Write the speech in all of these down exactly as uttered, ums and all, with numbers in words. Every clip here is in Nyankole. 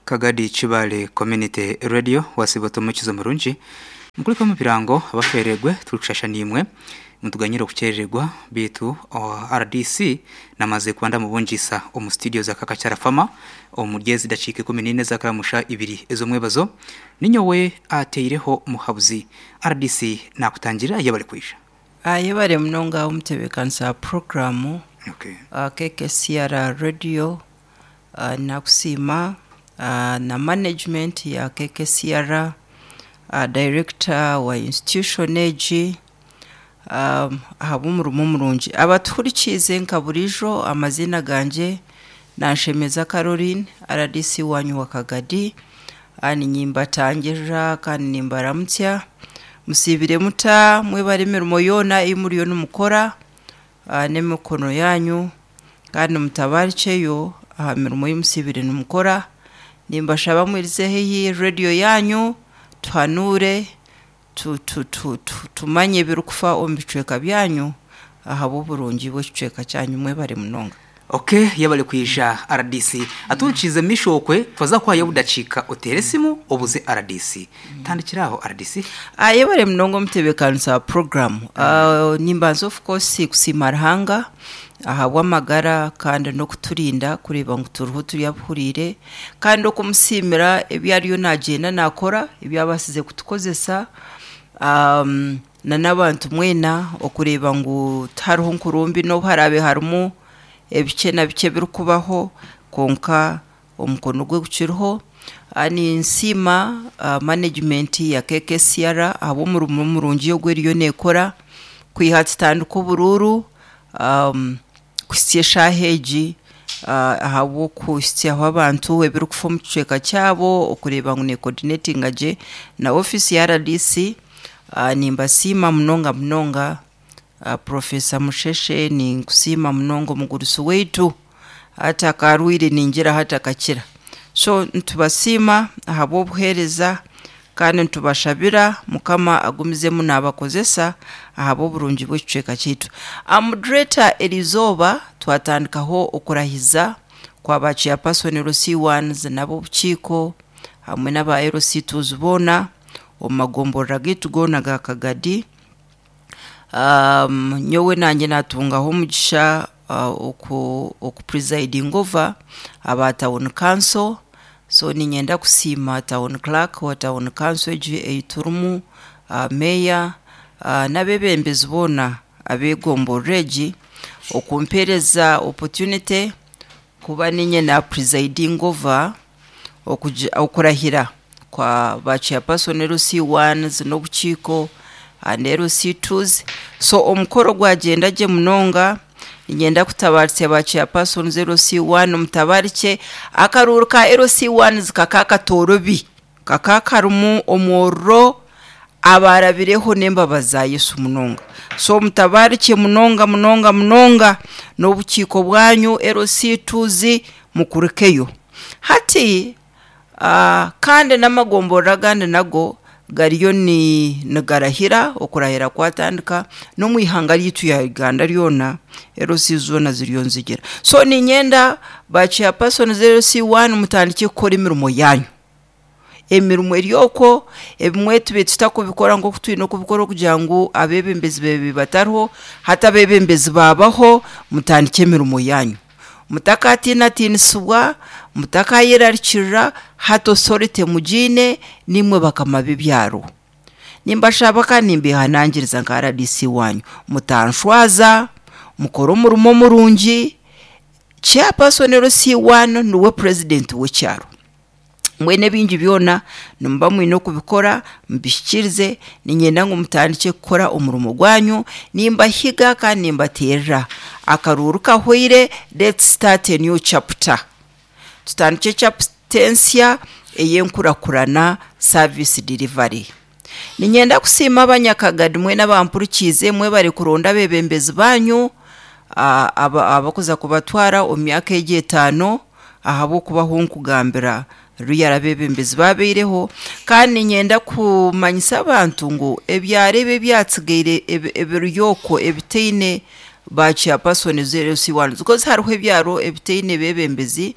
Kagadi Chibale Community Radio wasiba mukizo murungi mukuliko mu birango abaferegwe turikushasha nimwe mutuganyira okuchererwa bitu R D C namaze kwanda mubunjisa omu studio za Kakachara Fama omuryezi dakika kumi n'ine zakaramusha ibiri ezo mwebazo ninyowe ateireho muhabuzi R D C nakutangira yabali kwisha ayebare munonga omutebekanisa programu. Okay. uh, K K C R Radio uh, nakusiima uh, na management ya K K C R, uh, director wa institution egi um, ahabw'omurimo murungi abatuhurikiize nka burijo. Amazina ganje Nanshemeza Caroline, R D C wanyu wa Kagadi. Ninyimbatangirira kandi nimbaramutsya, musibire muta mwebare emirimo yoona ei muriyo nimukora n'emikono yanyu, kandi mutabarikyeyo aha mirimo ei musibire nimukora. Nimbashaba mwirize haihi rediyo yanyu tuhanure tu, tu, tu, tu, tumanye ebirikufa omu bicweka byanyu ahabw'oburungi bw'ekicweka kyanyu. Mwebare munonga. Okay, yabale kwisha R D C aturukize mishokwe twaza kwayo budacika otere simu obuze R D C mm. Tandikiraho R D C. Ayebare munonga omutebekanisa program. mm. uh, nimbanza of course kusiima Ruhanga ahabw'amagara kandi n'okuturinda kureeba ngu turiho turyabuhuriire, kandi okumusiimira ebi ariyo nagyenda nakora ebyabasize kutukozesa um, na n'abantu mwena okureeba ngu tihariho nkurumbi n'obu harabe harimu ebice na bice birikubaho, konka omukono gwe gukiriho. Ninsiima uh, management ya K K C R ahabw'omurimo murungi ogu eriyo neekora kwiha tutandika oburuuru um, kuhitsya eshaaha egi, uh, ahabw'okuhitsyaho abantu ebirikufa omu kicweka kyabo, okureeba ngu necoordinatinga gye na ofiisi ya R D C. uh, nimbasiima munonga munonga. Uh, Profesa Musheshe ninkusiima munonga omugurusi waitu hati akarwire ningira hati akakira. So nitubasiima ahabw'obuheereza kandi nitubashabira Mukama agumizemu naabakozesa ahabw'oburungi bw'ekicweka kyaitu. Moderator, erizooba twatandikaho okurahiza kwa ba chairperson L C ones n'ab'obukiiko hamwe n'aba L C twos boona omu magomborora gaitu goona ga Kagadi. Um, nyowe nanye natungaho omugisha uh, oku, oku presiding over aba town council. So ninyenda kusiima town clerk wa town council egi eiturimu, uh, mayor, uh, n'abebembezi boona ab'egomborora egi okumpereza opportunity kuba ninye na presiding over okurahira kwa ba chairperson L C ones n'obukiiko and L C twos. So omukoro gwagenda gye munonga. Ninyenda kutabaritsa ba chairpersons L C one mutabarike akaruuru ka L C ones kakakatorobi kakakarimu omwororo abarabireho n'embabazi za Yesu munonga. So mutabarike munonga munonga munonga n'obukiiko bwanyu L C twos mukurikeyo hati. uh, kandi n'amagomborora agandi nago gariyo ni nigarahira okurahira kwatandika n'omwihanga ryitu ya Uganda ryona L C zona ziriyo nzigira. So ninyenda ba chairperson L C one mutandike kukora emirimo yanyu, emirimo eryoko ebimwe tube tutakubikora nk'oku twine okubikora okugira ngu abebembezi bebe batariho hati abebembezi babaho. Mutandike emirimo yanyu, mutakatiinatiinisibwa, mutakayerarikirira, hati authority mugiine nimwe bakama b'ebyaro. Nimbashaba kandi nimbehanangiriza nka R D C wanyu mutanshwaza, mukore omurimo murungi. Chairperson L C one niwe president w'ekyaro, mwene ebingi byona nimuba mwine okubikora mubihikirize. Ninyenda ngu mutandike kukora omurimo gwanyu. Nimbahiga kandi nimbateerera akaruuru kahweire. Let's start a new chapter, tutandike chapter ensya ey'enkurakurana service delivery. Ninyenda kusiima abanyakagadi mwena abampurikiize mwebare kuronda abebembezi banyu abakuza kubatwara omu myaka egi etaano ahabw'okubaho nkugambira ruyara abebembezi babeireho. Kandi ninyenda kumanyisa abantu ngu ebyaro ebi ebyatsigaire ebiryoko ebitaine ba chairperson L C ones, because hariho ebyaro ebitaine bebembezi.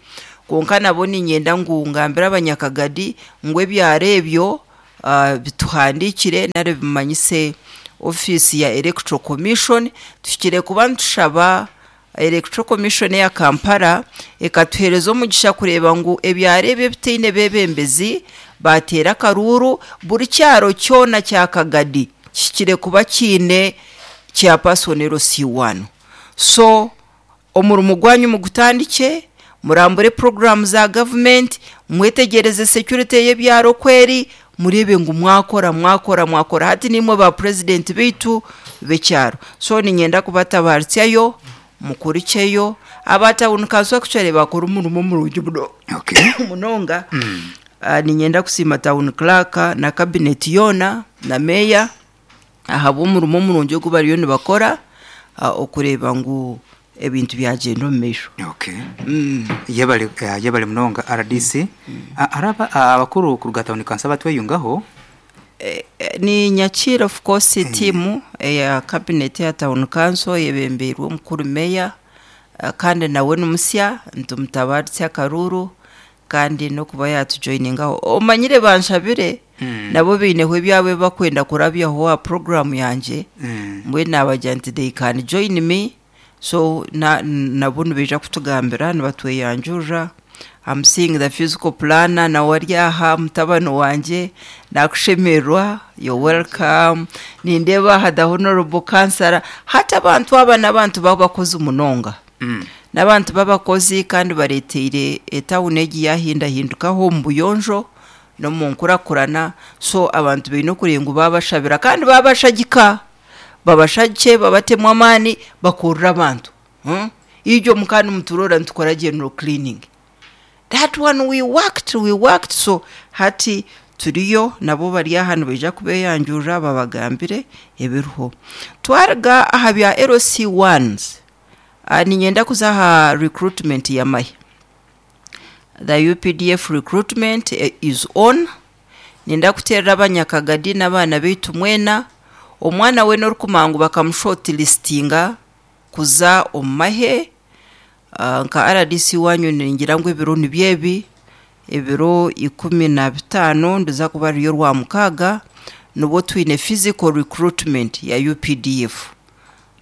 Konka nabo ninyenda ngu ngambire abanyakagadi ngu ebyaro ebyo uh, bituhandikire nari bimanyise ofiisi ya Electoral Commission. Tuhikire kuba nitushaba Electoral Commission ya Kampala ekatuhereza omugisha kureeba ngu ebyaro ebyo ebitaine bebembezi bateera akaruuru. Buri kyaro kyona kya Kagadi kihikire kuba kiine chairperson L C one. So omurimo gwanyu mugutandike, murambure programu za government, mwetegereze security y'ebyaro kweri, murebe ngu mwakora mwakora mwakora. Hati nimwe ba president beitu b'ekyaro, so ninyenda kubatabaritsyayo mukurikyeyo. Aba town council actually bakora omurimo murungi muno Okay. munonga. uh, ninyenda kusiima town clerk na cabinet yoona na meya ahabw'omurimo omurungi ogu bariyo nibakora, uh, okureeba ngu ebintu byagenda omu maisho. Okay. Yebale, eh, yebale munonga R D C. Ah, araba ah, abakuru kuruga town council batweyungaho. Eh, eh, ni nyakira of course tiimu eya cabinet ya town council yebembeirwe omukuru meya, eh, kandi nawe nimusya, nitumutabaritsa akaruru kandi nokuba yatujoiningaho. Omanyire banshabire nabo biineho ebyabo bakwenda kurabyaho aha program yangye. Mm. Mbwenu nabagira nti they can join me, so na, nabo nibaija kutugambira nibatweyanjurira. I'm seeing the physical planner nawe ari aha, mutabani wangye, nakushemerwa, you're welcome. Nindeeba aha the honorable councillor. Hati abantu aba n'abantu babakozi munonga, Mm. n'abantu b'abakozi kandi bareteire etawuni egi yahindahindukaho omu buyonjo n'omu nkurakurana. So abantu baine okuringa ngu babashabira kandi babashagika, babashagike, babatemu amaani, bakurura abantu, hmm? Iryo mukandi muturora nitukora general cleaning, that one we worked we worked So hati turiyo nabo bari aha nibaija kubeyanjurira babagambire ebiriho. Twaruga aha bya L C ones, uh, ninyenda kuza aha recruitment y'amahe. The U P D F recruitment eh, is on. Nenda kuterera abanyakagadi n'abaana baitu mwena, omwana we n'orikumangu bakamushortlistinga kuza omu mahe, uh, nka R D C wanyu ningira ngu ebiro nibyebi, ebiro ikumi na bitaano ndiza kuba ririyo rwa mukaaga, nibwo twine physical recruitment ya U P D F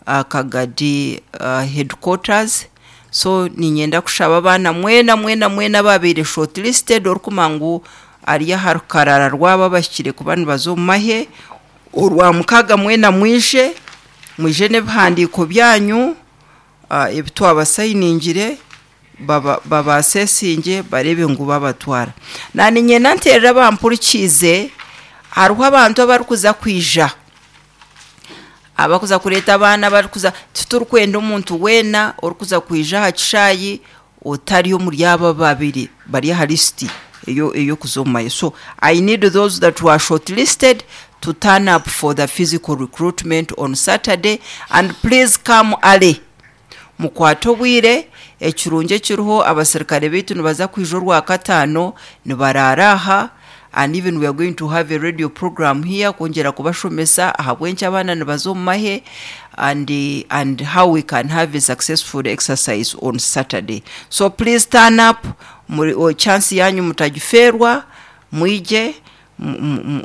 uh, Kagadi uh, headquarters. So ninyenda kushaba abaana mwena mwena mwena babaire shortlisted, orikumanya ngu ari aha rukarara rwabo abahikire kuba nibaza omu mahe, orwa mukaaga mwena mwije, mwije n'ebihandiiko byanyu uh, ebi twabasayiningire, baba babasesinge barebe ngu babatwara. Na ninyenda nterera bampurikiize, hariho abantu abarikuza kwija, abakuza kureeta abaana barikuza. Titurikwenda omuntu weena orikuza kwija aha kishaayi otari omuri aba babiri bari aha lisiti eyo eyokuza omu mahe. So I need those that were shortlisted to turn up for the physical recruitment on Saturday, and please come early, mukwate obwire. Ekirungi ekiriho, abasirikare baitu nibaza kwija orwa kataano, nibarara aha, and even we are going to have a radio program here kwongyera kubashomesa ahabw'enki abaana nibaza omu mahe and, and how we can have a successful exercise on Saturday. So please turn up. Muri o chance yanyu mutagifeerwa, mwije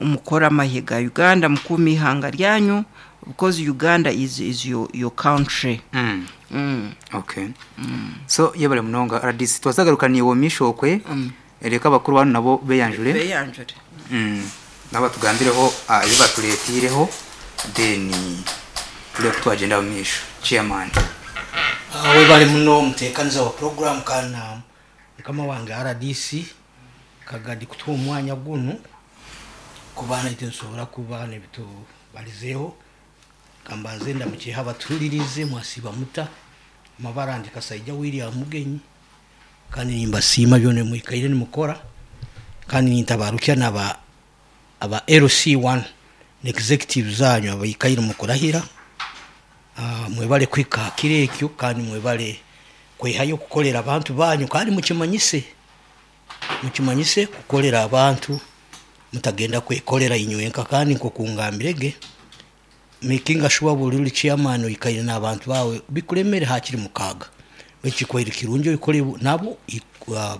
mukore amahe ga Uganda, mukuume ihanga ryanyu, because Uganda is, is your, your country. Mm. mm. Okay, so yebale munonga R D C, twazagaruka niwe mishokwe. mm. Reka abakuru bano nabo beyanjure. Beyanjure. mm. nabo tugambireho uh, ebi baturetireho, then turebe twagenda mu misho. Chairman. Uh, webale muno muteekaniza wa program kana mukama wange R D C Kagadi kutuha omwanya gunu kuba naite nsobora kuba nebitubalizeeho. Kambanze ndamukiha abatulirize, mwasiba muta? Amabara ndi Kasaija William Mugenyi, kandi nimbasiima byona mwikaire nimukora, kandi nintabarukya naba aba L C one executive zanyu abaikaire mukurahira. uh, mwebale kwika kiro ekyo, kandi mwebale kwehayo kukolera abantu banyu, kandi mukimanyise mukimanyise kukolera abantu, mutagenda kwekolera inywenka. Kandi nkokungambirege, making sure buli uli chairman oikaire n'abantu bawe bikulemere hakiri mukaaga. Ekikwaire kirungi oikore nabo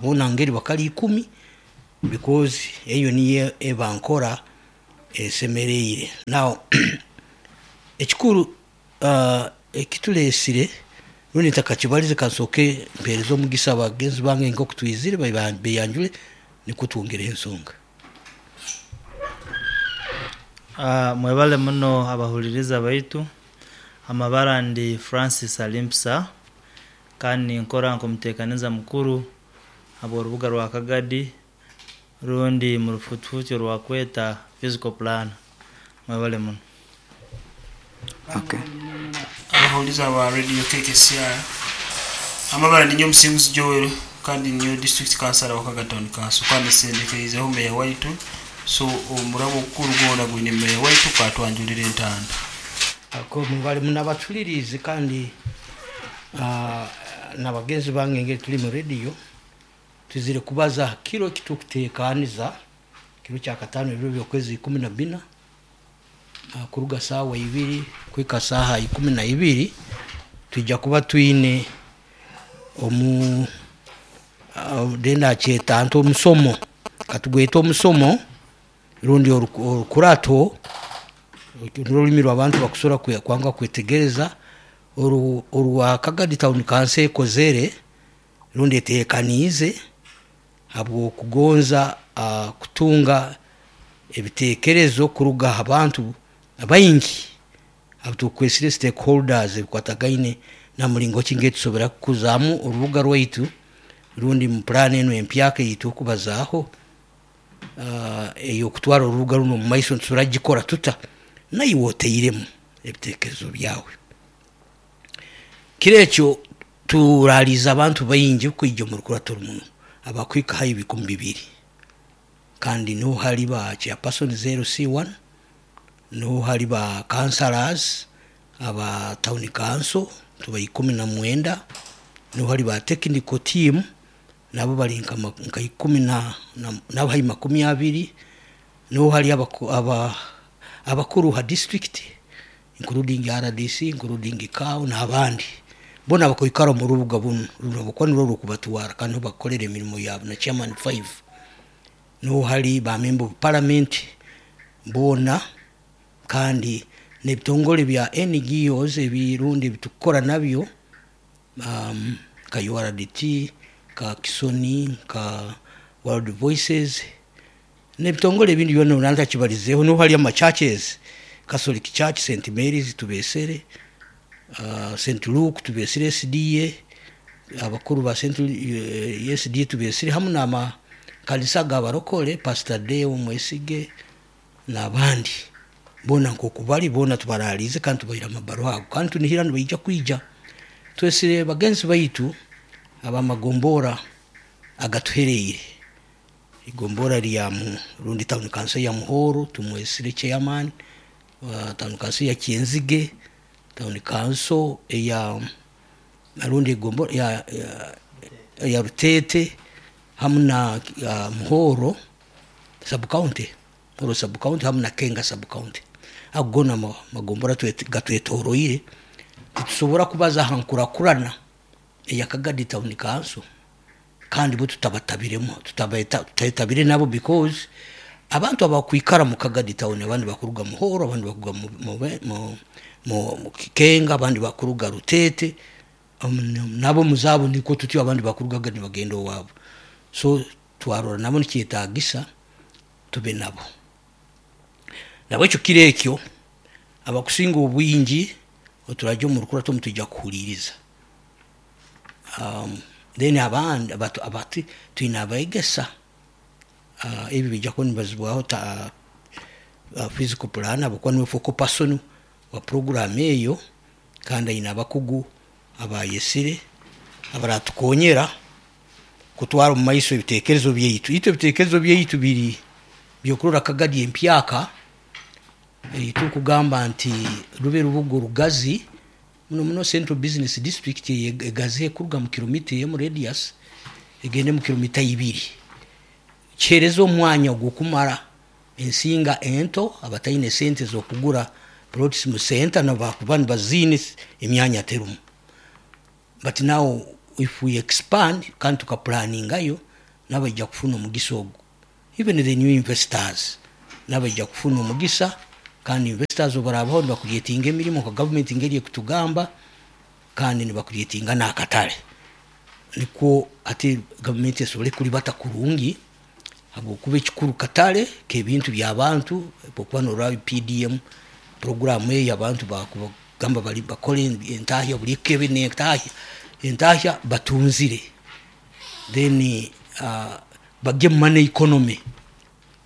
bona ngeri bakali ikumi, because eyo niyo eba nkora esemereire. Now ekikuru uh, ekituleesire rundi ntakakibalize, kansooke mpeereze omugisa abagenzi bange nk'oku twizire beyanjure, nikwo twongereho ensonga. Uh, mwebale muno abahuliriza baitu. Amabara ndi Francis Alimpsa, kandi nkora nk'omuteekaniza mukuru habw'orubuga rwa Kagadi, rundi mu rufutufuti orwakweta physical plan. Mwebale muno. Okay. Abahuliza ba Radio K K C R, amabara ninyo Omusinguzi Joel, kandi niyo district councillor wa Kagadi Town Council, kandi sendekeizeho meya waitu. So omurabo ogukuru gwona gwine meya waitu katwanjulira entanda. Ako mubali munabatulirize kandi uh, nabagenzi bange ngeri tuli mu radio, tuzire kubaza kiro kitukutekaniza kiro kya katano, ebiro byokwezi ikumi na bina, uh, kuruga saawa ibiri kwika saaha ikumi na ibiri, tujja kuba twine omu uh, denda kyeta nti omusomo, katugweta omusomo rundi orukurato, n'olulimi rw'abantu bakusobola kwanga kwetegereza, orwa Kagadi Town Council ekozere rundi eteekaniize habw'okugonza uh, kutunga ebiteekerezo kuruga aha bantu baingi abo tukwesire stakeholders, ebikwatagaine na muringo ki ngetusobora kukuzaamu orubuga rwaitu rundi mu plan eno empyaka eyitu okubazaaho uh, ey'okutwara orubuga runo omu maiso, nitusobora gikora tuta, naiwe oteiremu ebiteekerezo byawe. Kiro ekyo turaliza abantu baingi kwija omu rukurato rumuno, abakwika hayi bikumi bibiri, kandi niho hari ba chairperson zero C one, niho hari ba councillors aba town council tuba ikumi na mwenda, niho hari ba technical team nabo bari nka nka ikumi na nabo hari makumyabiri, niho hari aba abakuru ha district, including R D C, including C A O n'abandi bona bakwikara mu rubuga buno runo buko nirwo rukubatwara kandi bakorera emirimo yabo, na chairman five, niho hari ba member of parliament bona, kandi n'ebitongole bya N G Os ebirundi bitukora nabyo, um, ka U R D T, ka Kisoni, ka World Voices, n'ebitongole ebindi byona nantakibalizeeho. Niho hari ama churches, Catholic Church, Saint Mary's tubesere, uh, Saint Luke tubesere, S D A, abakuru ba Saint uh, S D A tubesere, hamu n'amakanisa g'abarokole, Pastor Deo Mwesige n'abandi bona nkoku bali bona tubaralize kandi tubaire amabaruha ago, kandi tunihira nibaija kwija. Twesire bagenzi baitu abamagombora agatuhereire, igombora lya mu rundi town council ya Muhoro tumwesire chairman, uh, town council ya Kyenzige, town council eya rundi igombora ya, ya, ya Rutete, hamu na uh, Muhoro sub county, Muhoro sub county, hamu na Kenga sub county. Ago gona magombora gatwetoroire, titusobora kubaza aha nkurakurana eya Kagadi Town Council kandi bo tutabatabiremu, tutabetabire nabo, because abantu abakwikara mu Kagadi Town, abandi bakuruga Muhoro, abandi bakuruga mu, mu, mu, mu Kikenga, abandi bakuruga Rutete, um, nabo muzabo niko tutyo, abandi bakurugaga nibagenda owabo. So twarora nabo nikyetagisa tube nabo. Nabwekyo kiro ekyo abakusinga obwingi oturajya omu rukurato mutujja kuhuliriza. um, then abandi abatu, abati twine abaegesa uh, ebi bijja kuba nibazibwaho ta uh, physical plan, abakuba niwe focal person wa program eyo, kandi aine abakugu abayesire abaratukonyera kutwara omu maiso ebitekerezo byaitu. Itwe ebitekerezo byaitu biri byokurora Kagadi empyaka tukugamba nti rube rubuga orugazi muno muno, central business district egazi ekuruga mu kilomita emu radius egende mu kilomita ibiri, kihereza omwanya ogwokumara ensinga ento abataine sente z'okugura plots mu center, nabakuba nibaziine emyanya terumu. But now If we expand kandi tukaplaningayo, nabaija kufuna omugisa ogu. Even the new investors nabaija kufuna omugisa, kandi investors obarabaho nibacreatinga emirimo nka government ngeri ekutugamba, kandi nibacreatinga n'akatale, nikwo ati gavumenti esobole kuribata kurungi, habwokuba ekikuru katale k'ebintu by'abantu. Okuba noraba P D M program eyo, abantu bakugamba bali bakole entahya, buli ekebe n'entahya, entahya batunzire, then uh, bajye mu money economy.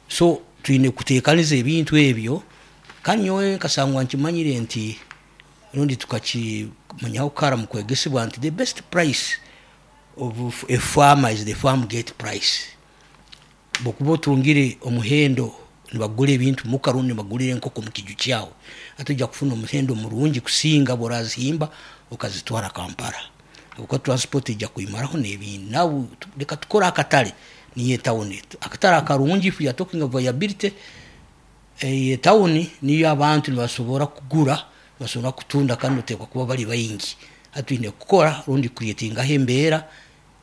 So twine kuteekaniza ebintu ebyo. Kandi nyowe nkasangwa nkimanyire nti rundi tukakimanyaho kara mu kwegesebwa nti the best price of a farmer is the farm gate price. Bwokuba otungire omuhendo nibagura ebintu muka, rundi nibagurira enkoko mu kiju kyawe, ate ojja kufuna omuhendo murungi kusinga bworazihimba okazitwara Kampala, habwokuba transport ejja kwimaraho n'ebindi. Nawe leka tukore akatale, niyo etawuni, akatale akarungi. If you are talking of viability, etawuni niyo abantu nibasobora kugura, basobora kutunda, kandi otekwa kuba bali baingi. Hati twine kukora rundi creatingaho embeera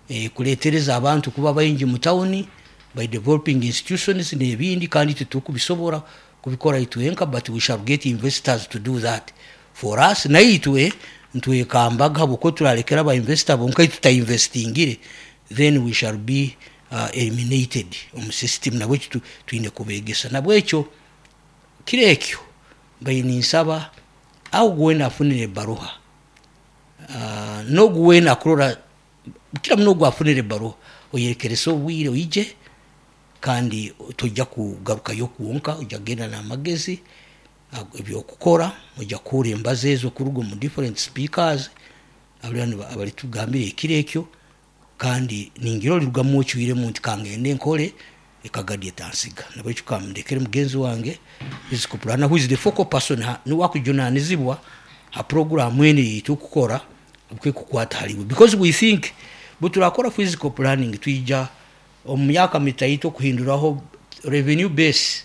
eh, kuletereza abantu kuba baingi mu tawuni by developing institutions n'ebindi. Kandi itwe tukubisobora kubikora itwenka, but we shall get investors to do that for us. Naitwe ntwekambaga, habwokuba turalekera aba investor bonka tutainvestingire, then we shall be uh, eliminated omu system. Nabwekyo twine kubegesa. Nabwekyo kiro ekyo mbaire ninsaba aho gwena afunire ebaruha, uh, n'ogu wena akurora kira muno, ogu afunire ebaruha, oyerekerese obwire oije, kandi tojja kugarukayo kwonka, ojja kugenda n'amagezi ebyokukora. Ojja kuhura embazo ezo kuruga omu different speakers abalitugambira ekiro ekyo, kandi ningira olirugamu ocwiremu nti kangende nkole ekagadi etansiga. Nabwekyo kamundekere mugenzi wange physical planner, who is the focal person, niwe akujunanizibwa ha program eno yitu okukora kukwata haliwe, because we think bweturakora physical planning, twija omu myaka mitaito kuhinduraho revenue base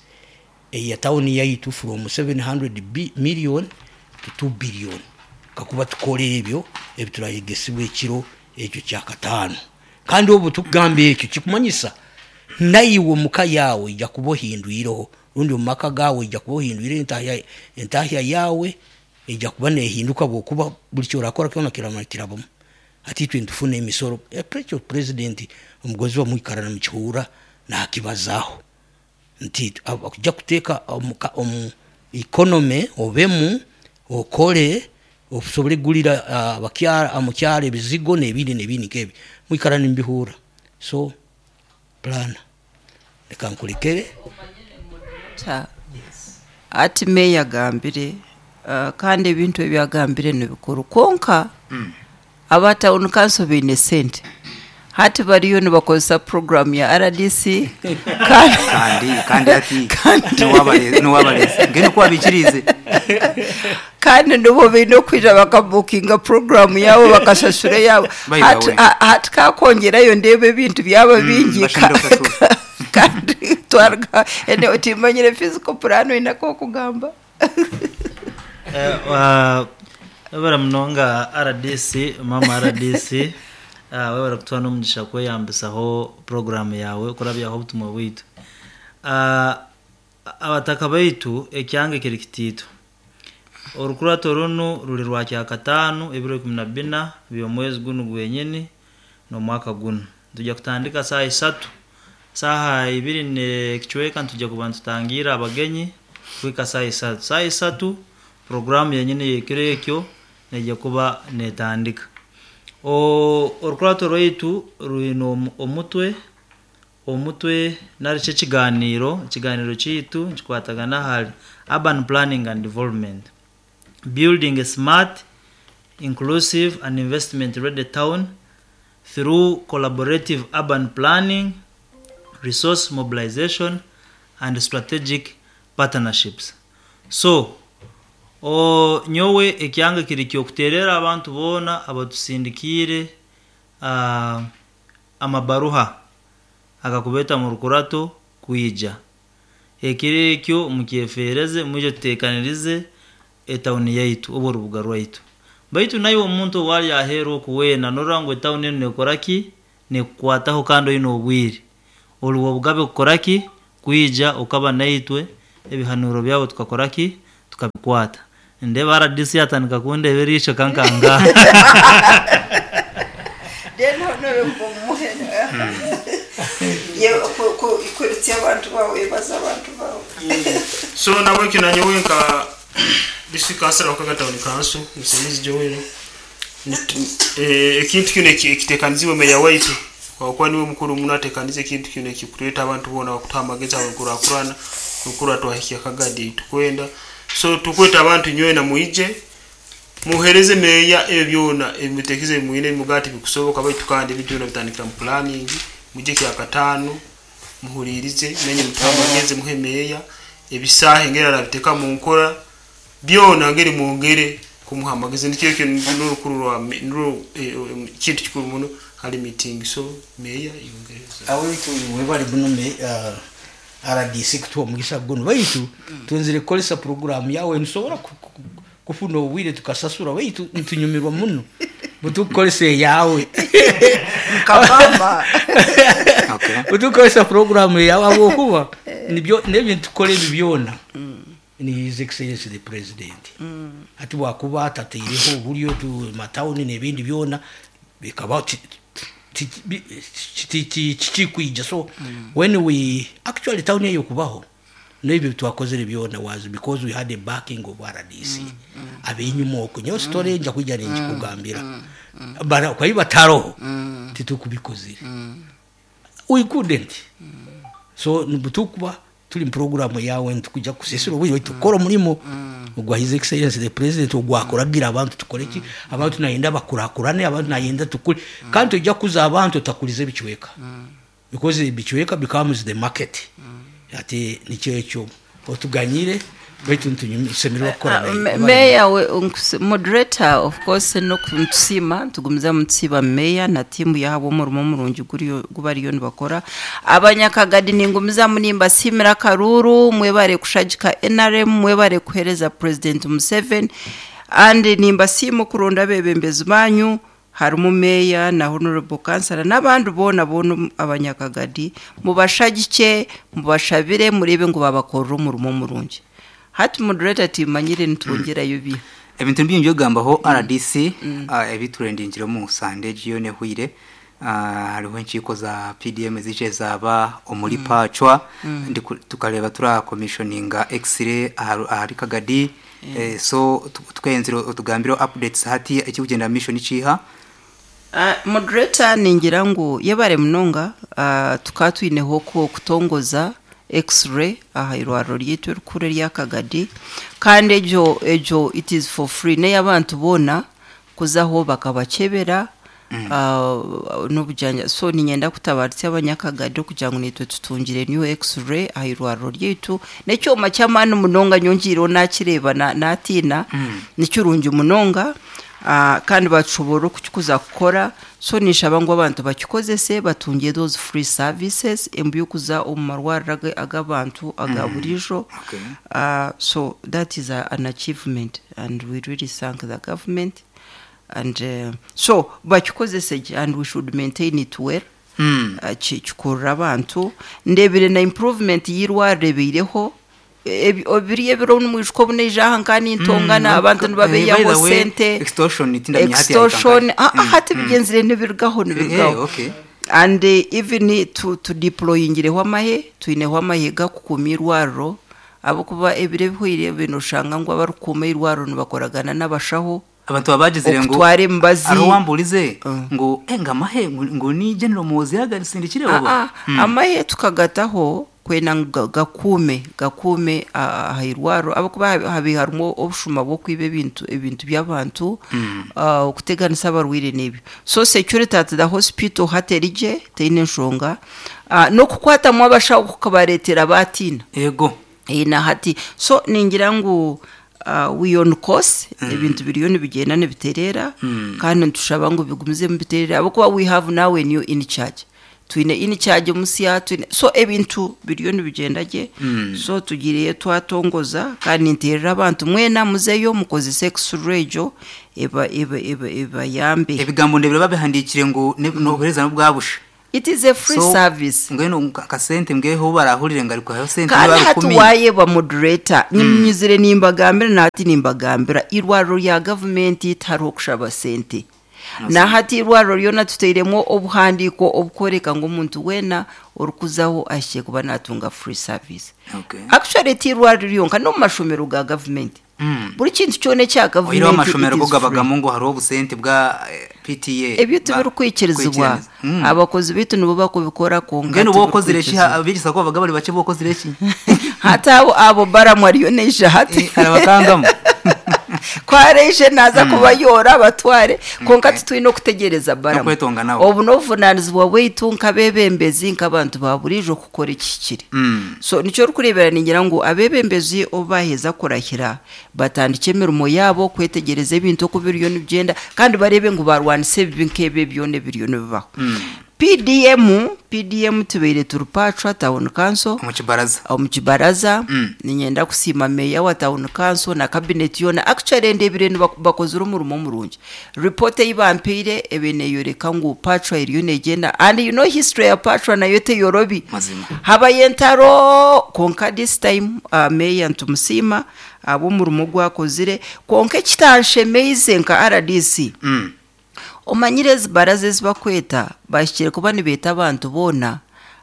eya tawuni yaitu from seven hundred million to two billion, kakuba tukora ebyo ebiturayegesibwa ekiro ekyo kyakataano. Kandi obu tukugamba ekyo, kikumanyisa naiwe muka yawe ijja kuba ohindwireho, rundi omu maka gawe ijja kuba ohindwire entahya, entahya yawe ijja kuba nehinduka, bwokuba buli kyorakora kyona kirama kirabamu. Ati itwe ntufuna emisoro, ekyo president omugozi wamwikara namukihura nakibazaho nti kujja kuteeka omu economy, obemu okole osobole kugulira abakyara omukyaro ebizigo n'ebindi n'ebindi nk'ebyo, mwikara nimbihura. So plan, reka nkurekere. Ati meya agambire, uh, kandi ebintu ebyagambire nibikuru, konka mm. aba town council baine sente, hati bariyo nibakozesa program ya R D C. kandi kandi ati niwabalezi ngene kwabikirize. Kandi nibo baine okwija bakabukinga program yabo, bakashashura yabo. hati, hati kakongerayo ndeba ebintu byaba mm, bingi, kandi twarga ene timanyire physical plan oinako okugamba. Webara munonga R D C, mama R D C, uh, webara kutuha n'omugisha kweyambisaho program yawe kurabyaho obutumwa bwitu. uh, abataka baitu, ekyanga kiri kitiito, orukurato runu ruri rwa kyakataano, ebiro ikumi na bina by'omwezi gunu gwenyini n'omwaka gunu. Tujja kutandika saaha isatu, saaha ibiri nekicweka ntujja kuba nitutangira abagenyi kuhika saaha isatu. Saaha isatu programu yenyini yekiro ekyo nejja kuba netandika. Orukurato rwaitu rwine omutwe omutwe nari ekiganiro ekiganiro kiitu nikikwatagana ahari urban planning and development, building a smart, inclusive and investment ready town through collaborative urban planning, resource mobilization and strategic partnerships. So o nyowe ekyanga kiri kyokuterera abantu boona abatusindikiire uh, amabaruha agakubeta mu rukurato kwija ekiro ekyo, mukyefereze mwije tutekanirize etawuni yaitu oba orubuga rwaitu. Baitu naye omuntu owali aheeru okuweena norora ngu etawuni enu nekora ki, nekukwataho kandi oine obwire. Oli obugabe kukora ki, kwija okaba naitwe ebihanuro byawe tukakora ki, tukabikwata. Ndeba R D C atandika kundeba eriisho kankanga. Then honorable Muhene. Ye ku ku kuritya abantu bawe baza abantu bawe. So nabwe kinanyowe nka district council wa Kaga Town Council Musingizi Joel. Eh ekintu kino ekitekanizibwe meya waitu kwa kuba niwe mukuru muno atekanize ekintu kino ekikureta abantu bona bakutuha amagezi abakurakurana kukura twahikia Kagadi tukwenda. So tukweta abantu nyowe na muije muhereze meya ebyo byona ebimutekize mwine mugati bikusoboka baitu kandi ebintu byona bitandikira mu planning muje kya katano muhulirize menye mutamageze muhe meya ebisahe ngera rabiteka mu nkora byona ngeri mwongere kumuha amagezi nikyo kyo n'urukuru rwa nuru kintu kikuru muno hari meeting. So meya yongereza awitu webali buno me uh, R D C kutuwa mugisa guno baitu twenzire kolesa program yawe nsobora kufuna obwire tukasasura baitu ntunyumirwa muno butukolese yawe kabamba. Okay, butukolesa program yawe abokuba nibyo nebintu tukole byona ni His Excellency the President. Ati wakuba atateireho oburyo tu matawuni n'ebindi byona bikaba kikwija. So when we actually town eyo kubaho n'ebyo twakozere byona was because we had a backing of R D C. Abenyuma okwo nyo story nja kwijja nkikugambira bara kwa bataro titukubikozire we couldn't. So nibutukuba tuli program yawe ntukujja kusesura obwo tukora omulimo ogwa His Excellency the President ogwakoragira abantu tukore ki abantu nayenda bakurakurane abantu nayenda tukuri kandi tujja kuza abantu takulize bichweka because bichweka becomes the market. Ati nikyo ekyo otuganyire baitu ntusemererwa kukora naye. Meya we moderator of course no kuntusima tugumiza mutsiba meya na timu yabo umurimo murungi guriyo gubariyo nibakora abanyakagadi ningumiza munimba simira karuru mwebare kushagika N R M mwebare kuhereza President Museveni and nimba simu kuronda bebembezi banyu harumu meya na honorable councilor n'abandi bona bona abanyakagadi mubashagike mubashabire murebe ngo babakorera umurimo murungi. Hati moderator timanyire ntongerayo bi ebintu byingi gambaho R D C ebiturendingiro mu Sunday jiyone huire hariho enchiko za P D M zije zaba omuri pachwa tukareba tura commissioninga x-ray ahari Kagadi. So tukayenziro otugambiro updates hati ekikugenda mission ichiha. Uh, moderator ningira ngu yebare munonga uh, tukatwineho ko kutongoza x-ray aha irwaro ryitu rukure rya Kagadi kandi ejo ejo it is for free ne abantu bona kuzaho bakabakebera mm. uh, n'obujanja. So ninyenda kutabaritsa abanyakagadi kugira ngo nitwe tutungire new x-ray aha irwaro ryitu necyoma cyamani munonga nyongiro nakireba na natina mm. nicyurungi munonga. Uh, kandi bashobora kukuza gukora. So nishaba ngo abantu bakikozese batungiye those free services embyukuza omumarwara agabantu agaburijo. Okay. Uh, so that is a, an achievement and we really thank the government and uh, so bakikozese and we should maintain it well. Mm. Uh, kikurura abantu ndebire na improvement yirwarebireho ebiri ebiro n'umwishko buneja hankani intongana abantu nibabeyaho sente extortion itinda hati extortion hati bigenzire nibirgaho nibirgaho. And uh, even to to deployingireho amahe tuineho amahe gakukumirwaro abo kuba ebire bihwire binoshanga ngo abarukuma irwaro nibakoragana n'abashaho abantu babagizire ngo tware mbazi arowamburize ngo enga mahe ngo ni General Muhozi yagarisindikire oba amahe tukagataho kwena gakume gakume ahirwaro abakuba habiharumo obushuma bwo kwibe ebintu ebintu by'abantu okuteganisa abarwire n'ebyo. So security at the hospital haterije teine nshonga no kukwata mu abashaho kukabaretera batina yego ina hati. So ningira ngu Uh, we on course ebintu biriyo nibigenda nibiterera kandi ntushaba ngo bigumize mubiterera abakuba we have now a new in charge Twine in charge musya, twine so ebintu biriyo nibigenda gye. Mm. So tugireyo twatongoza, kandi nterera abantu mwena muzeyo mukozese x-ray egyo eba eba eba ebayambe. Ebigambo ndebire babihandikire ngu ne- nobuhereza n'obwabusha. It is a free So, service. Mbwenu kasente mbweho barahurire ngo ariko hayo sente Kandi niba hati rukumi. wayeba moderator, nyimyizire nimbagambira, nahati nimbagambira irwariro rya gavumenti tihariho kushaba sente. Nahati irwariro ryona tuteiremu obuhandiiko obukworeka ngu omuntu weena orikuzaho ahikire kuba natunga free service. Okay. Actually ti irwariro ryonka, n'omu mashomero ga gavumenti. Mm. Buri kintu kyona ekya Oyireho gavumenti amashomero it go is free. gabagamu ngo hariho obusente bwa eh, P T A. Ebyo tibirikwikirizibwa. Kwikiriza. Mm. Abakozi baitu nibo bakubikora, kwonka Mbwenu bokozire ki? tibirikwikirizibwa. Abigisa ko babaga bari bake, bokozire ki? Hati abo abo baramu ariyo neija hati. Eh, arabakangamu. Kwareije naza kubayora abatware, kwonka Okay. titwine okutegereza baramu. N'okwetonga nabo. Obu n'obuvunanizibwa bwaitu nk'abebembezi, nk'abantu ba buriijo, kukora ekihikire. Mm. So nikyo orikureebera ningira ngu abebembezi obu baheza kurahira batandike emirimo yaabo kwetegereza ebintu oku biriyo nibigyenda, kandi barebe ngu barwanisa ebibi nk'ebyo byona ebiriyo nibibaho. P D M, P D M tubaire turi Pachwa Town Council. Omu kibaraza. Omu kibaraza. Mm. Ninyenda kusiima meya wa Town Council na cabinet yona. Actually ndebire bakozire omurimo murungi. Report ei bampeire ebe neyoreka ngu Pachwa eriyo negyenda, and you know history ya Pachwa nayo teyorobi. Mazima. Habayo entaro, konka this time, uh, meya ntumusiima ab'omurimo gwakozire, konka ekitanshemeize nka R D C. Mm. Omanyire ezi baraza ezi bakweta bahikire kuba nibeeta abantu boona,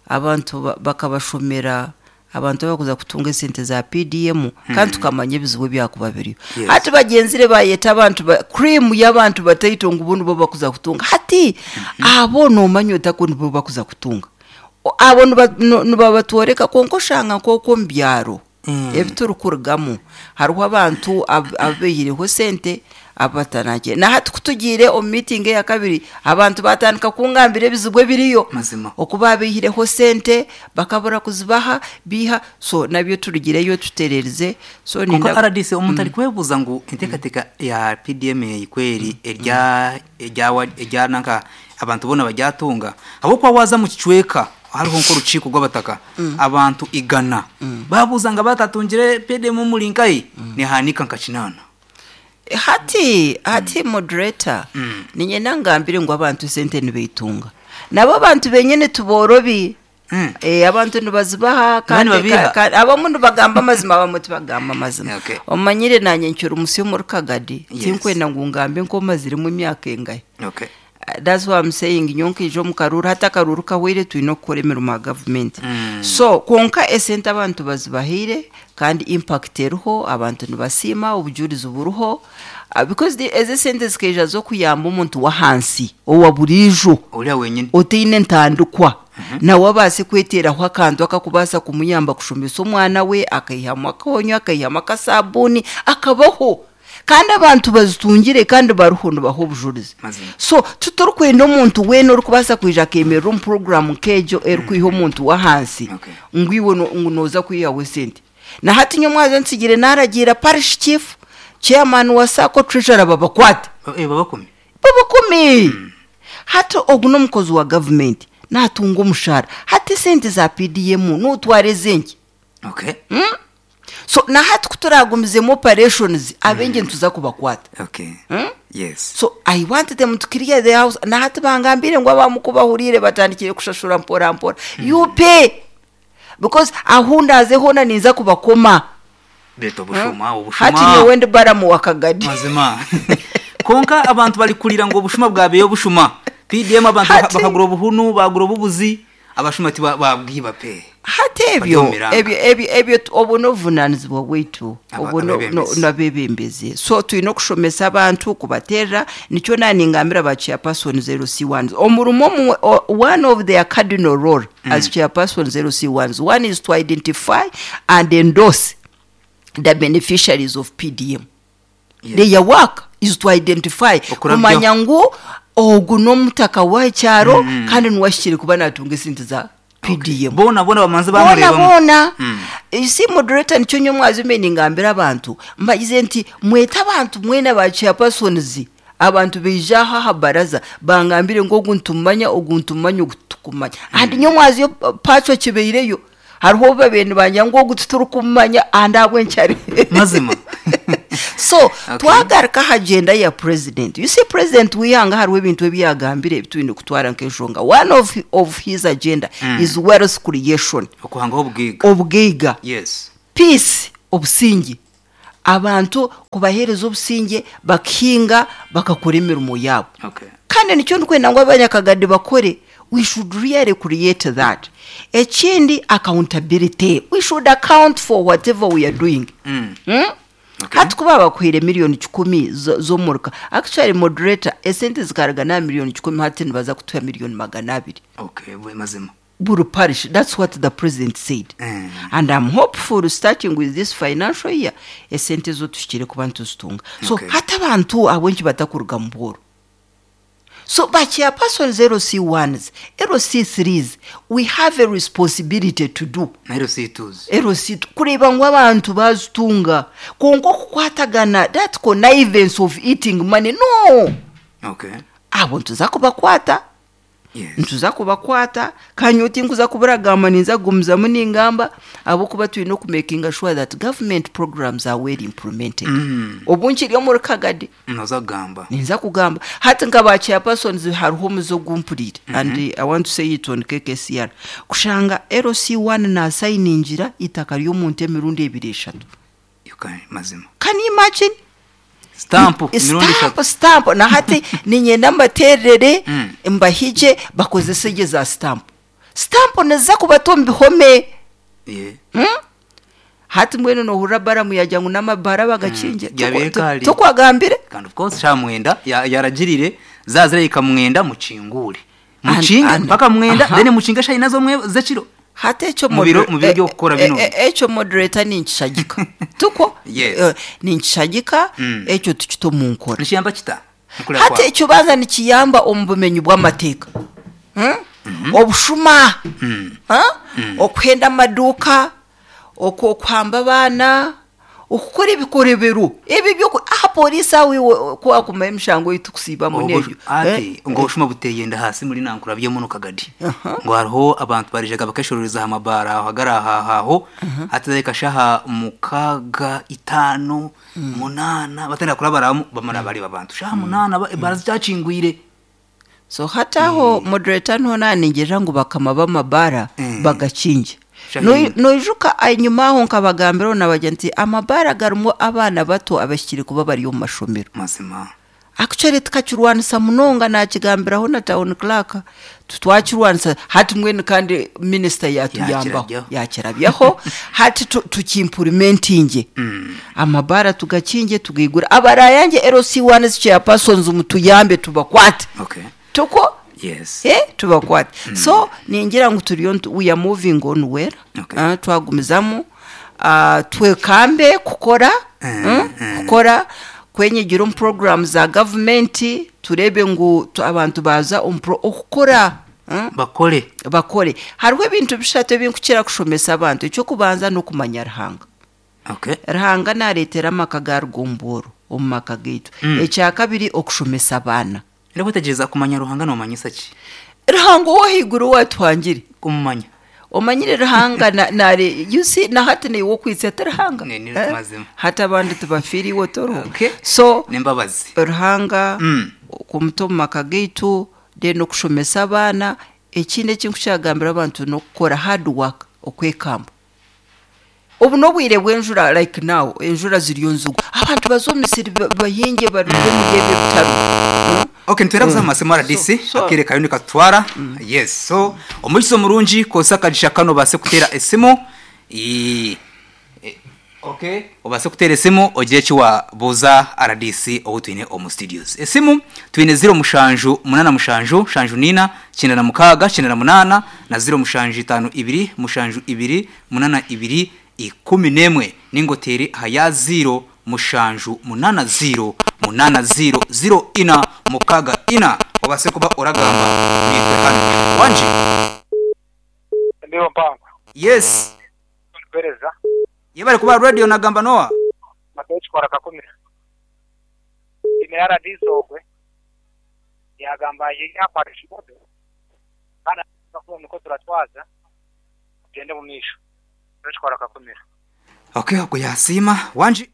abantu ba-, bakabashomera abantu abakuza kutunga esente za P D M, kandi tukamanya ebizibu ebyakuba biriyo. Yes. Hati bagyenzire bayeta abantu ba-, cream y'abantu bataito ngu bo nibo bakuza kutunga. Hati abo nomanya otako nibo bakuza kutunga. O-, abo niba-, no-, nibabatworeka, kwonka oshanga nk'okwo omu byaro Mm. ebiturukurugamu hariho abantu ab-, abeyireho sente abatanagye. Na hati kutugiire omu meeting eya kabiri, abantu batandika kungambira ebizibu ebiriyo. Mazima. Okuba abeyireho sente bakabura kuzibaha biha, so nabyo turugireyo tutererize. So Konka ninda R D C omuntu ari kwebuza ngu enteekateeka ya P D M eyikweri erya erya erya nanka abantu bona bajyatunga habwokuba waza mu kicweka hariho nk'orukiiko rw'abataka abantu igana babuza nga batatungire P D M murinkai nihanika nka kinana. Hati, hati moderator, ninyenda ngambire ngu abantu sente nibeyitunga. Nabo abantu benyene tuborobi. Mm. Eh, abantu nibazibaha, Nani kandi babiha? ka-, ka-, abamu nibagamba amazima, abamwe tibagamba amazima. Okay. Omanyire nanye nkyura omusi omuri Kagadi, Yes. tinkwenda ngu ngambe nk'omazirimu emyaka engahe. Okay. Uh, that's why I'm saying nyonka ijo mu karuru, hata akaruru kahwire twine okukora emirimo ya government. Mm. So kwonka esente abantu bazibahire, kandi impact eriho, abantu nibasiima, obujurizi buriho. Uh, because the, ezi sente zikeija z'okuyamba omuntu w'ahansi owa buriijo Oriya wenyine oteine entandikwa, nawe abaase kweteraho akantu akakubaasa kumuyamba kushomesa omwana we, akaihamu akonyo, akaihamu akasabuni, akabaho. Kandi abantu bazitungire kandi bariho nibaha obujurizi. Mazima. So tuturikwenda omuntu weena orikubaasa kwija akemerera omu program nk'egyo erikwiha omuntu w'ahansi, Okay. ngu iwe no-, ngu nooza kwihaho esente. Na hati nyowe mwaza nsigire naragiira parish chief, chairman wa SACCO, treasurer babakwate. Eh, babakumi. Babakumi. Hati ogu n'omukozi wa government natunga omushahara, hati esente za P D M notwara ezenki. Okay. Mm? So na hati kuturagumizemu operations abenge nituza kubakwata. Okay. Mm? Yes. So I want them to clear the house. Na hati bangambire ngu abamu kubahurire batandikire kushashura mpora mpora. Mm. You pay. Because ahunda azehona ninza kubakoma. Beto bushuma, obushuma. Hati nyowe ndi baramu wa Kagadi. Mazima. Konka abantu bali kulira ngo obushuma bwabeyo obushuma. P D M abantu Hati bakagura obuhunu, bagura obubuzi, abashuma ti babwiba pe. Hati ebyo, Baryomiranga. ebyo, ebyo, ebyo obu n'obuvunanizibwa bwaitu, Aba- obu no-, abebembezi. no-, n'abebembezi. So twine okushomesa abantu kubaterera, nikyo naningambira ba chairperson zero C ones. Omurimo omwe, o-, one of their cardinal role Mm. as chairperson zero C ones, one is to identify and endorse the beneficiaries of P D M. Yes. Their work is to identify, Okurabyo. kumanya ngu ogu n'omutaka w'ekyaro Mm. kandi niwashikire kuba natunga esente za P D M. Okay. Bona, bona bamanze Bona, bamurebamu. bona. Mm. You see, moderator, nikyo nyo mwazi mbe ningambira abantu. Mbagize nti mwete abantu mwena ba chairpersons Abantu beija aha aha baraza bangambire ngu ogu nitumumanya, ogu nitumumanya, ogu titukumumanya. And nyomwazi yo pacho kibeireyo hariho babaire nibangira ngu ogu titurikumumanya and ahabw'enki ari Mazima. So Okay. twagaruka aha agenda ya president. You see, president w'ihanga hariho ebintu ebi yagambire ebi twine kutwara nk'enshonga. One of, of his agenda Mm. is wealth creation. Okuhangaho obugaiga. Obugaiga. Yes. Peace, obusinge. Abantu kubaheereza obusinge bakahinga bakakora emirimo yaabo. Okay. Kandi nikyo ndikwenda ngu abanyakagadi bakore. We should really create that. Ekindi, accountability. We should account for whatever we are doing. Mm. Hmm? Okay. Hati kuba bakuhaire miliyoni kikumi zo- z'omuruka, actually moderator, esente zikaraga na miliyoni kikumi, hati nibaza kutuha miliyoni magana abiri. Okay, bwe mazima. Buri parish, that's what the president said. Mm. And I'm hopeful, starting with this financial year, esente zo tuhikire kuba nituzitunga. So Okay. hati abantu ahabw'enki batakuruga mu bworo? So ba chairpersons, L C ones, L C threes, we have a responsibility to do. Na L C twos. L C kureeba ngu abantu bazitunga, konka okukwatagana, that connivance of eating money, no. Okay. Abo nituza kubakwata. Yes. Nituza kubakwata kanye tinkuza kuburagamba, ninza kugumizamu ningamba ahabwokuba twine okumakinga sure that government programs are well implemented. Mm. Obu nkiri omuri Kagadi, Noza kugamba. ninza kugamba hati nka ba chairpersons hariho omuze ogumpuriire, and I want to say it on K K C R, kushanga L C one nasayiningira itaka ry'omuntu emirundi ebiri, eshatu. You can mazima. Can you imagine? Stamp mirundi Stamp, eshatu. stamp. Na hati ninyenda mbaterere, Mm. mbahije bakozese gye za stamp. Stamp niza kubata omu bihome. Yeah. Hmm? Hati mbwenu nohurira baramu yagira ngu n'amabara bagakinge. Mm. Yabiire kare. Tokwagambire. Kandi of course sha mwenda ya- yaragirire zazira ikamwenda mukingure. Mukinge And- mpaka mwenda, aha. then mukinge shayi nazo mwe zekiro. Hati ekyo Mu biro- moder- mu biro by'okukora e- bino. e- e- ekyo moderator ninkishagika tuko. Yes. Eh, ninkishagika Mm. ekyo tukite omu nkora. Nikiyamba kita? Mukura Hati kwawe. ekyo banza nikiyamba omu bumenyi bw'amateeka. Hmm? Obushuma, Mm. Ha? Okuhenda amaduuka, oku- okuhamba abaana, okukora ebikorebero ebi byoku aha polisi aho iwe kwakumara emishango ei tukusiibamu n'ebyo. Ati Eh? ngo obushuma buteyenda hasi muri nankura byemuno Kagadi. Aha. Ngo hariho abantu barijaga bakeshorereza aha mabara aho hagara aha aho hati reka shaha mukaga, itano, munana batenda kurabaramu bamara bari abantu shaha munana ba- barazicyakingwire. So hati aho moderator niho naningira ngu bakama b'amabara Mm. bagakinge. Shahini. Noijuka enyuma aho nkabagambiraho nabagira nti amabara garimu abaana bato abahikire kuba bari omu mashomero. Mazima. Actually tukakirwanisa munonga, nakigambiraho na town clerk, twakirwanisa. Hati mbwenu kandi minisita yatuyambaho. Yakirabyaho. Yakirabyaho. Hati tu- tukimplementinge, Mm. amabara tugakinge, tugaigura abarayange. L C one chairpersons, mutuyambe tubakwate. Okay. Tuko. Yes. Eh, tubakwate. So ningira ngu turiyo ntu- we are moving on well. Okay. Ah, twagumizamu. Ah, twekambe kukora, Mm, mm, mm. kukora kwenyigira omu program za gavumenti, turebe ngu tu- abantu baza omu pro- okukora, mm, Bakore. bakore. Hariho ebintu bishatu ebinkukira kushomesa abantu. Ekyokubanza n'okumanya Ruhanga. Okay. Ruhanga nareetera amaka garuga omu bworo omu maka gaitu. Mm. Ekyakabiri, okushomesa abaana. Ndakwetegereza, kumanya Ruhanga nomanyisa ki? Ruhanga ow'ahaiguru watwangire. Kumumanya. Omanyire Ruhanga na- nare, you see, na hati niiwe okwitsa ati Ruhanga. Ni- ni Eh? mazima. Hati abandi tibafiire iwe toro. Okay. So Nembabazi. Ruhanga Mm. kumuta omu maka gaitu, then okushomesa abaana. Ekindi ekinkukyagambira abantu n'okukora hard work, okwekamba. Obu n'obwire bw'enjura, like now enjura ziriyo nzigu, abantu baza omu misiri ba- bahinge baruge muri ebyo bitaro. Hmm? Okay, nitwera kuza mu masemo R D C. So- so- Akere kayo nikatwara. Yes, so omukizo murungi kosa akagisha kano base kutera esimu. I e- okay, obase kutera esimu ogire eki wabuuza R D C owu twine omu studios. Esimu twine zero mushanju munana mushanju shanju nina kyenda na mukaaga kyenda na munana na zero mushanju itano ibiri mushanju ibiri munana ibiri ikumi n'emwe, ningotere aha ya zero mushanju munana zero munana zero zero ina mukaga ina, obase kuba oragamba nitwe hano wanje. Ndiyo mpango. Yes. Pereza. Yebale kuba radio nagamba noa. Mateo chikora kakumira. Ine R D C ogwe. Yagamba yakwata ekimodo kandi akuba niko turatwaza tugende mu maisho tukora kakumira. Okay, okwo yasiima wanji.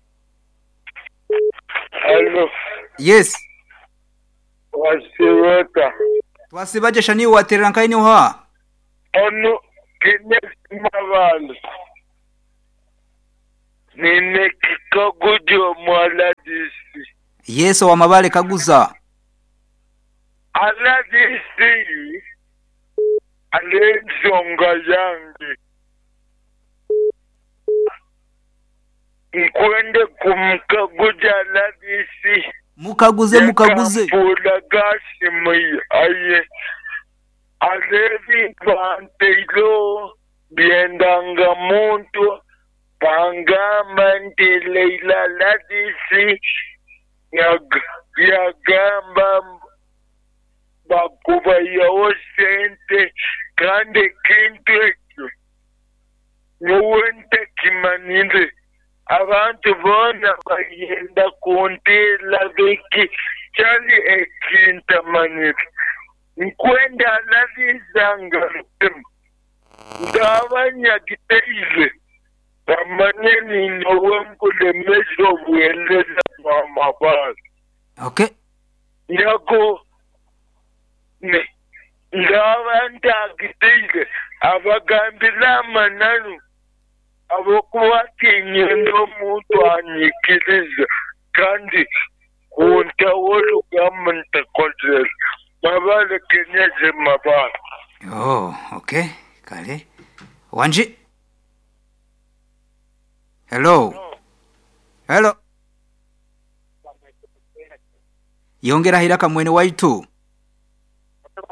Hello. Yes. Wasiwota. Twasibaje shani waterera nkaini ha. Ono kine mabandu. Nine kikagujo mwaladisi. Yesu wa mabale kaguza. Aladisi. Alenzonga yange. Nkwende kumkaguja aladisi. Mukaguze mukaguze. Pula gasi mwi aye. Alevi banteilo biendanga muntu pangamba nti Leila Ladisi yag, yagamba bakuba yawo sente kandi kintu ekyo nyowe ntekimanire abantu bona bagenda kuntela biki kyali ekintamanire nkwenda alalizanga ndabanyagiteize bamanye nyowe nkulemeza obuheereza bw'amabazi. Okay. Nyako ndaba ntagiteize abagambira amananu abokuba tinyenda omuntu anyikiriza kandi kuntawo olugamba ntakozere mabale kenyeze mabale. Oh, okay. Kale. Wanji. Hello. Hello. Yongera hiraka mwene waitu.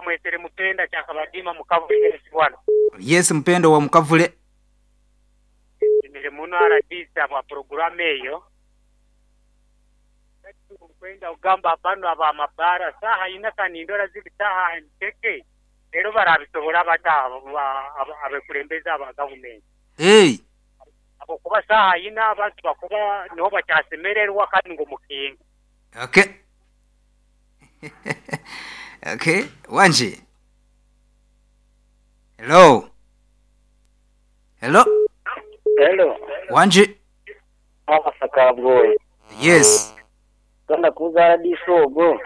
Mwetere mupenda chakabadima mukavule bwana. Yes, mpendo wa mukavule. Nile muno R D C bwa programu eyo. Kwenda ugamba bano aba mabara saha ina kanindora zili saha nteke. Rero barabisobora bata abekulembeza aba government. Hey. Abo kuba saha ina abantu bakuba niho bakyasemererwa kandi ngo mukinga. Okay. Okay, wanji. Hello. Hello. Hello. Wanji. Abasakabwoye. Yes. Kanda kuza disogo.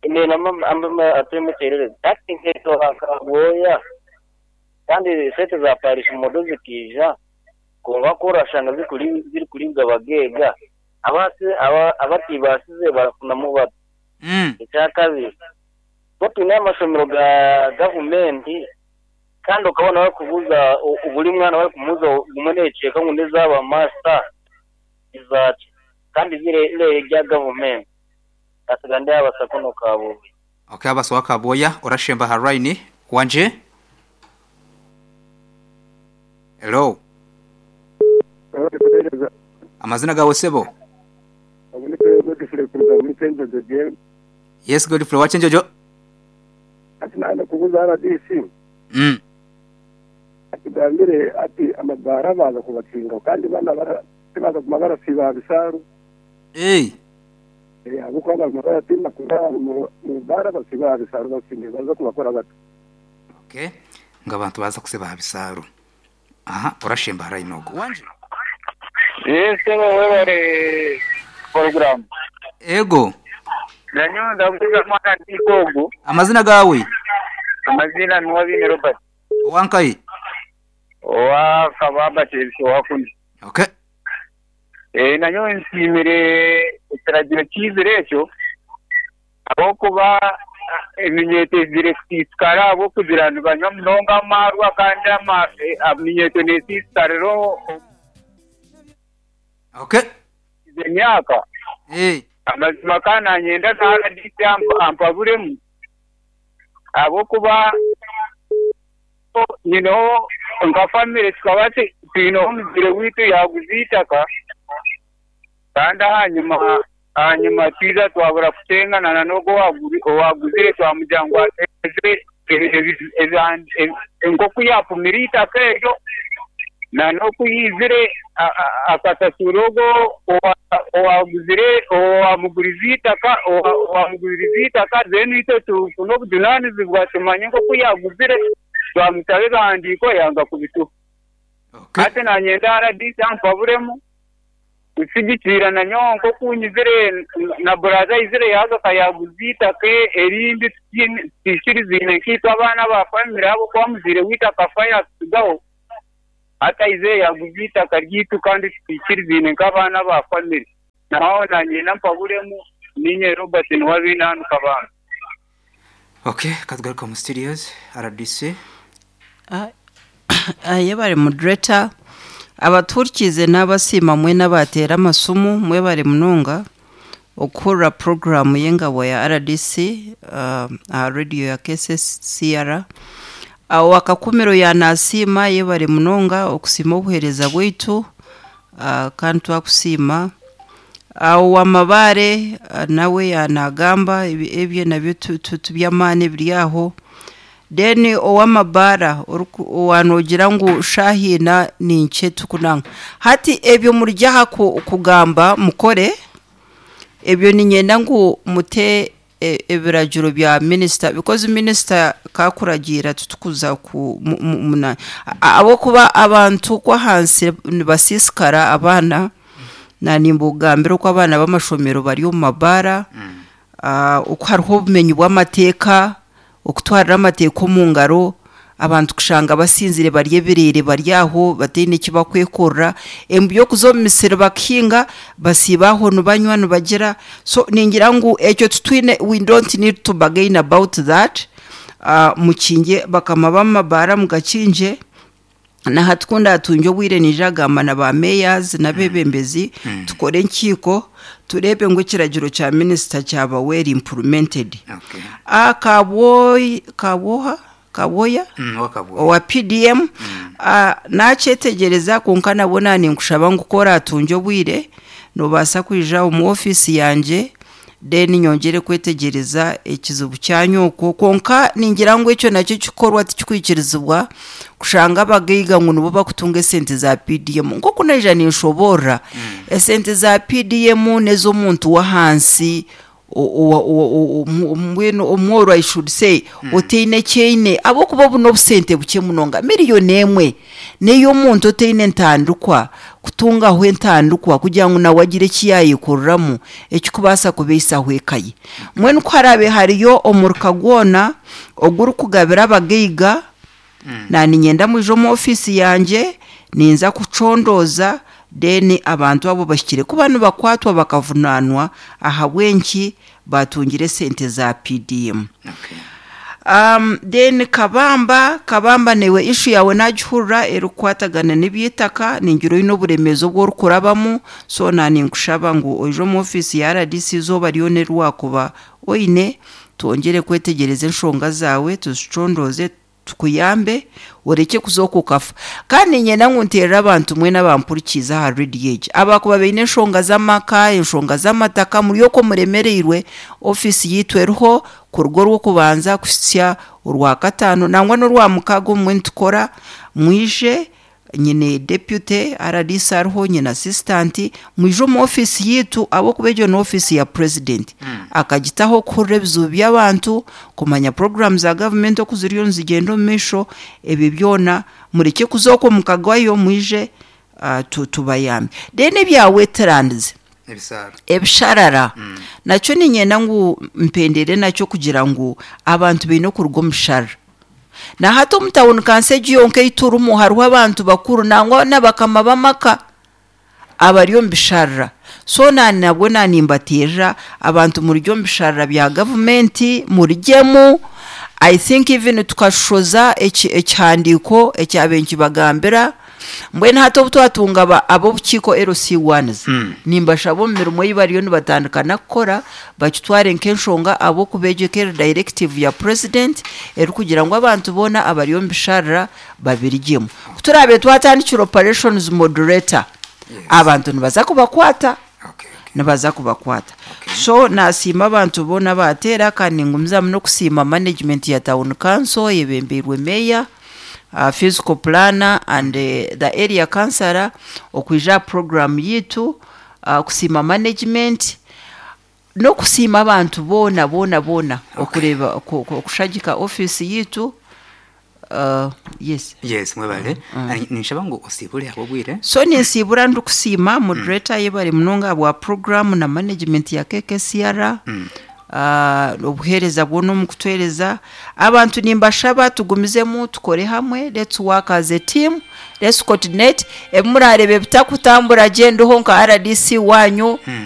Ine nama amba ateme terere. Acting heto akabwoya. Kandi sete za Paris modo zikija. Konga korashanga zikuri ziri kuribwa bagega. Abasi abatibasize barafuna mu bato. Mm. Icyakabiri. Bo tuna amasomero ga gavumenti kandi ukabona bari kubuza buri mwana bari kumuza gumuneceka ngo ndezaba master izacu kandi zire ile rya gavumenti asigande abasakono kabo. Okay, abaswa kaboya orashemba haraini wanje. Hello. Amazina gawe sebo. Yes, Godfrey wachenjojo. Ati kubuza R D C. Mm. Atugambire ati amabara baza kubakinga kandi bana bara baza kumagara siba bisaru. Eh. Eh abuko abamagara tima kura mu bara basiba bisaru bakinge baza kubakora bato. Okay. Ngabantu baza kusiba bisaru. Aha, orashemba harayinogo. Wanje. Yes, wewe program. Ego. Nanyo ndakuza mwana ndikogo. Amazina gawe? Amazina ni Wabine Robert. Wankai? Wa kababa chebisho wakundi. Okay. Eh nanyo nsimire ekiragiro kizire ekyo abokuba eminyete ziresisikara abokugira nibanywa munonga amarwa kandi eminyete nesisikariro. Okay. Emyaka. Eh. Amazima kana nyenda na R D C ampaburemu abokuba you know nka family tukaba twine omuzire witu yaguziitaka kandi hanyuma hanyuma twiza twabura kutengana n'ogwo owaguzire twamugira ngu ateze enkoku yapumira itaka eryo Na n'okuyizire akasasura ogwo owaguzire owamugurize itaka owamugurize itaka then itwe tufune obujunanizibwa tumanye nk'oku yaguzire twamusaba ebihandiiko yanga kubituha. Ate nanyenda R D C ampaburemu kusigikira nanyowe nk'oku nyizire na buraza ayizire yaza akayaguza itaka erindi tutikiriziine nk'itwe abaana ba famire abo kuba muziire waitu akafa yatusigaho atayize yaguza itaka ryitu kandi tutikiriziine nk'abaana ba famire. Naho nanyenda mpaburemu ninye Robert Niwabina hano Kabamba. Okay, katugaruka mu studios R D C. Aye bari moderator abaturikize n'abasima mwe n'abatera amasumu mwe bari munonga okura program y'engabo ya R D C uh, radio ya K S C R awo akakumiro ya nasima ye bari munonga okusima obuhereza bwaitu uh, kandi twakusima awo amabare uh, nawe yanagamba ebye nabyo tubyamane biri aho. Then owamabara owanogira ngu shahina ninche tukunanga hati ebyo muryaha kugamba mukore ebyo ninyenda ngu mute ebiragiro bya minister because minister kakuragira tutukuza ku munani abo kuba abantu kwa hansi basisikara abana na nimbugambira ko abana b'amashomero bari mu mabara uko hariho ubumenyi bw'amateka okutwarira amateko mu ngaro abantu kushanga basinzire barye birere baryaho batine kibakwekorra embu yo kuzomisira bakinga basibaho nubanywa nubagira. So ningira ngu ekyo tutwine we don't need to bargain about that. uh, mukinge bakama bamabara mugakinje na hatkunda atunjo bwire nijagamba na ba mayors na bebembezi mm. tukore nkiko turebe ngo kiragiro cha minister cyaba well implemented. Okay. Akaboy kaboha kaboya mm, owa P D M mm. uh, nachetegereza konka nabona ninkushaba ngukora atunjo bwire nobasa kwija mu office yanje then nyongere kwetegereza ekizibu cyanyoko konka ningira ngo icyo nacyo kikorwa tikikwikirizibwa kushanga abageiga ngo nibo bakutunga sente za P D M nko kunaija ninshobora mm. Esente za P D M nezo muntu wa hansi omweno omworo I should say mm. Oteine chaine abo kuba buno busente buke munonga miliyoni emwe neyo muntu oteine ntandukwa kutunga aho entandukwa kugira ngo nawe agire kiyayikoreramu ekikubasa kubeisa hwekaye mwe nuko harabe hariyo omuruka gwona oguru kugabira abageiga mm. Na ninyenda mujo mu office yanje ninza kucondoza then abantu abo bashikire kuba bakwatwa bakavunanwa ahabwenki batungire sente za P D M. Okay. Um, then kabamba kabamba newe issue yawe najihurra erukwatagana n'ibyitaka ningiro ino buremezo bwo rukurabamu so nani nkushaba ngo ojo mu office ya R D C zo bariyo nerwakuba oine twongere kwetegereza enshonga zawe tuzicondoze tukuyambe ureke kuzokukafa kandi nyena nkunterera abantu mwe n'abampurikiza ha radio age abakuba beine enshonga z'amaka enshonga z'amataka muri yoko muremereirwe office yitweruho ku rugo rwo kubanza kusya urwa katano nangwa n'urwa mukago mwe ntukora mwije nyine deputy R D C ariho nyine assistant mwijo mu office yitu abo kubejo no office ya president mm. Akagitaho kure bizu by'abantu kumanya programs za government okuziriyo nzigendo misho ebi byona mureke kuzoko mukagwayo mwije uh, tubayambe then ebya wetlands ebisara ebisharara mm. Nacyo ninyenda ngu mpendere nacyo kugira ngu abantu bino kurugo mushara na hato mutawuni kanseji yonke iturumu hariho abantu bakuru nangwa n'abakama b'amaka abariyo mbisharra so nani nabwo nanimbatira abantu muri ryo mbisharra bya government murijyemu I think even tukashoza ekihandiko ekyabenki bagambira mbwene hato twatunga abo bukiko L C ones mm. Nimbashabo mirimo yibariyo nibatandikana kukora bakitware nk'enshonga abo kubegekera directive ya president eri kugira ngo abantu bona abariyo mbisharra babirigemu turabe twatandikira operations moderator yes. Abantu nibaza kubakwata okay, okay. Nibaza kubakwata okay. So nasima abantu bona batera kandi ngumiza no kusima management ya town council yebemberwe mayor uh, physical planner and uh, the area councillor okwija aha program yitu, uh, kusiima management n'okusiima abantu boona boona boona okureeba oku- oku- okushagika office yitu. uh, yes Yes, mwebale. mm. Ninshaba ngu osibule abobwire. So ninsiibura ndikusiima moderator, yebare munonga bwa program na management ya K K C R, Mm. uh, obuheereza bwona omu kutwereza abantu. Nimbashaba tugumizemu tukore hamwe. Let's work as a team, let's coordinate. Ebimurareba ebitakutambura gye, ndiho nka R D C wanyu. Mm.